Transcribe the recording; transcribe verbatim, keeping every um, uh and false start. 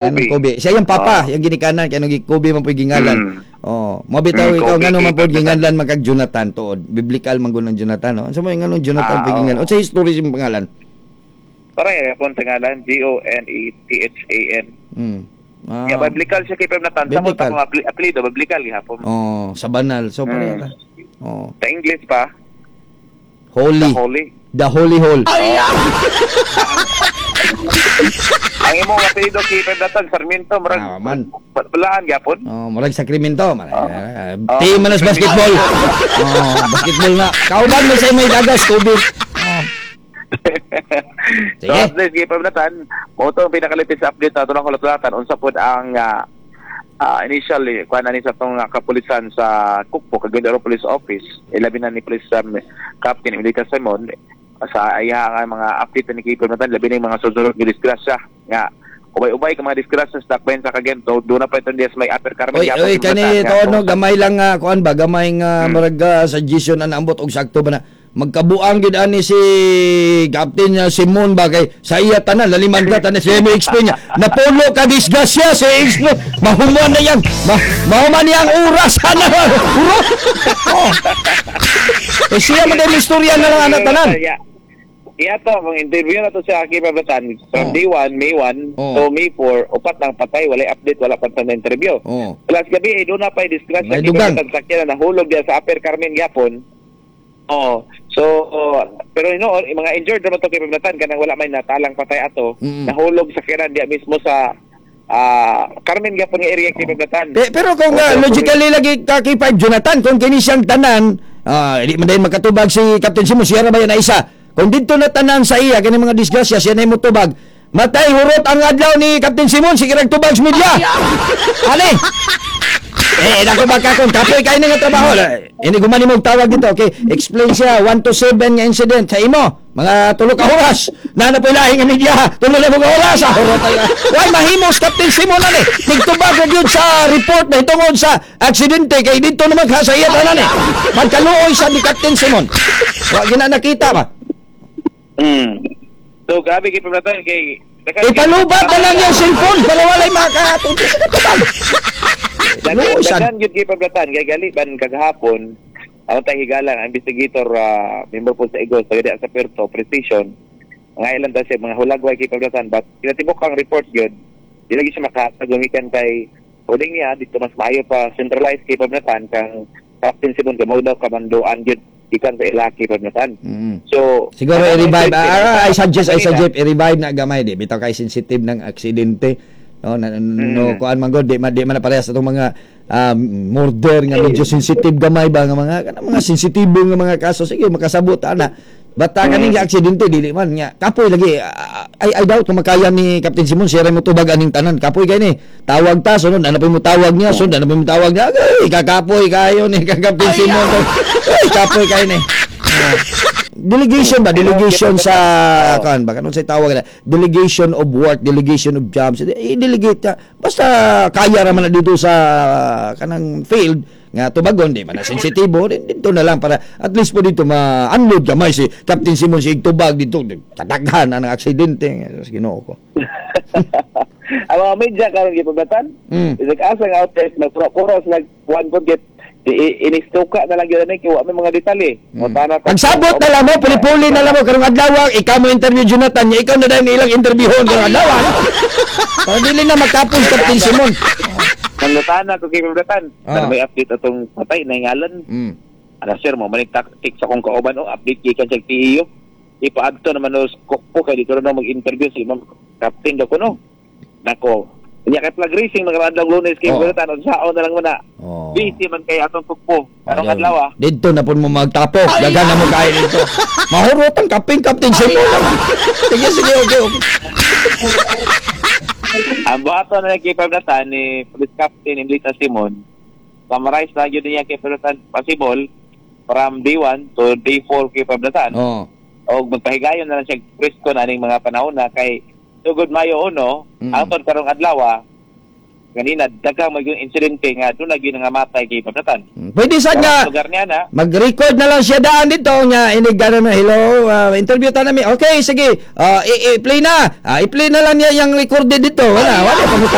Anong Kobe. Kobe? Siya yung papa, Ah. yung ginikanan kay anong Kobe man po'y gingalan. Mm. Oh, mo bitaw Mm, ikaw Kobe, ngano man Kobe, pod ginganlan man kag Jonathan tuod. Biblical man gud ang Jonathan, no? Unsa mo yung nganong Jonathan Ah, po'y gingalan? oo. Unsa history sa imong pangalan? Parang yapon sa ngalan, G O N E T H A N. Mm. Ah. Yeah, biblical siya kay Pem Natan. Sa mo Biblical. akong apli- apelyido, biblical gihapon. Oh, sa banal. So Mm. pareha. Oh, Sa English pa, holy. the holy. The Holy Hall. Ang imong apelyido kay Pem Natan, Sarmiento, murag Ah, man. balaan gyapon. Oh, murag sakrimento. Man. Ah. Team man sa basketball. Oh, basketball na. Kauban mo sa imong dagas Kobe. Oh. So, Sige. update kay Pem Natan, mo to ang pinakalipit sa update ato lang kulat-kulatan unsa pod ang ah, ah, initial eh, kuan ani sa tong ah, kapulisan sa Kukpo Cagayan de Oro Police Office, ilabi na ni Police um, Captain Emilita Simon sa iya nga mga update ni kay Pem Natan, labi na yung mga susunod nga disgrasya nga ubay-ubay ka mga disgrasya sa dakbayan sa Cagayan to doon na pa itong diya sa may Upper Carmen Oy, gyapon oy, Pem kani Natan, nga, to no kung- gamay lang nga kuan ba, gamay nga Hmm. murag ah, suggestion na naambot og sakto ba na magkabuang gid ani si Captain ah, Simon ba kay sa iya tanan laliman ka tanan siya mo explain niya napulo ka disgrasya si explain mahuman na yang ma, mahuman niyang oras ana Uro. Oh. Eh siya man dahil istorya na lang anak tanan. Iya. Iya to, kung interview na to sa Aki Pablatan, from Oh. day one, May one Oh. to May four, upat lang patay, walay update, wala pa sa interview. Oh. Plus gabi, eh, doon na pa disgrasya May kay dugang. Pablatan sakyan na nahulog diya sa Upper Carmen gyapon. Oh, so oh, pero you know, yung mga injured naman to kay Pablatan kanang wala may natalang patay ato, Mm. nahulog sa kiran diya mismo sa ah, Carmen gyapon nga area kay Pablatan. Pe- pero kung uh, logically lagi ka kay Five Jonathan, kung kini siyang tanan, ah, di man dahil makatubag si Captain Simon, siya ra ba yan na isa? Kung dito na tanan sa iya, kini mga disgrasya, siya na mo tubag, matay hurot ang adlaw ni Captain Simon, sige rag tubag sa media. Ali! Eh, nako baka kung kapoy kayo nga trabaho. Ini gumani mo tawag dito, okay? Explain siya, one to seven nga incident sa imo. Mga tulo ka oras. Na na po lahi nga media. Tulo na mo ka oras. Ah, hurot tayo. Why mahimos Captain Simon ani? Nagtubag na gyud sa report na itungod sa aksidente kay dito naman ka sa iya tanan eh. Magkaluoy sa ni Captain Simon. Wa gina nakita ba? Mm. So grabe kay Pablatan kay Ipalubat na lang yung cellphone para walay makatubag sa katubag. Dagan Luoy sad. dagan gyud kay Pablatan kay gali ban kagahapon ang tay higala ang investigator ah, member po sa IGOS taga diha sa Puerto Precision mga ilan ta siya mga hulagway kay Pablatan, but kinatibok ang report gyud di lagi siya makatagamikan kay uling niya dito mas maayo pa centralized kay Pablatan kang Captain Simon kay mao daw kamanduan gyud gikan sa ila kay Pablatan. Mm. So Siguro i-revive. Ah, I suggest, I Kanina. suggest i-revive na gamay di. Bitaw kay sensitive ng aksidente. No, na, no Mm. kuan man gud di man di man na parehas atong mga um, murder nga medyo sensitive gamay ba nga mga kanang mga sensitibo nga mga kaso, sige makasabot ana. Bata kaning mm. aksidente dili man nga kapoy lagi. Ah, I, I doubt kung makaya ni Captain Simon siya ra mo tubag aning tanan, kapoy kay ni tawag ta sunod ana pa mo tawag niya, sunod ana pa mo tawag niya, ay kakapoy kayo ni Captain Simon, ay kapoy kayo ni. Ah. Delegation ba, delegation sa kan ba kanang say tawag na delegation of work, delegation of jobs, i-delegate ka basta kaya ra man na dito sa kanang field nga tubagon, di man na sensitibo dito na lang para at least po dito ma-unload gamay si Captain Simon si tubag dito tadaghan ang aksidente. Sa Ginoo ko. Ang mga media karon kay Pablatan Mm. is like asa nga outlets nagpuro sila one po get inistuka na lang yun kay wa may mga detalye. Mm. Mutana ta- Pagsabot na lang mo, puli-puli na lang mo karong adlaw, ikaw mo interview Jonathan, nya ikaw na dahil ilang interviewon karong adlaw. No? Para dili na magkapos Captain Simon. Nangutana ko kay Pablatan. Ah. Pero may update atong patay na ngalan. Mm. Ana sir mo manig tactic sa akong kauban o update gikan sa T E U. Ipaadto naman no kokpo kay dito na mag-interview si Ma'am Captain daw kuno. Nako. Nya kay flag raising mga adlaw Lunes kay Oh. Pablatan unsaon na lang mo na. Oh. Busy man kay atong kukpo. Karong Ayaw. adlaw ah. Dito na po mo magtapok. Dagan na mo kain dito. Mahurot ang kaping Captain Simon. Sige, sige, okay, okay. Ang buhaton na kay Pablatan ni Police Captain Emilita Simon, summarize na yun niya kay Pablatan possible from day one to day four kay Pablatan. Oh. O magpahigayon na lang siya press con aning mga panahon na kay sugod Mayo uno, Mm. ang karong adlaw ah, Kanina daghang magyung insidente nga doon lagi nangamatay kay pabnatan. Pwede sa nga Lugar niya na mag-record na lang siya daan dito nga inig gana na hello uh, interview ta nami. Okay, sige. Uh, i- i-play na. Ah, i-play na lang niya yung recorded dito. Wala, wala pangutana.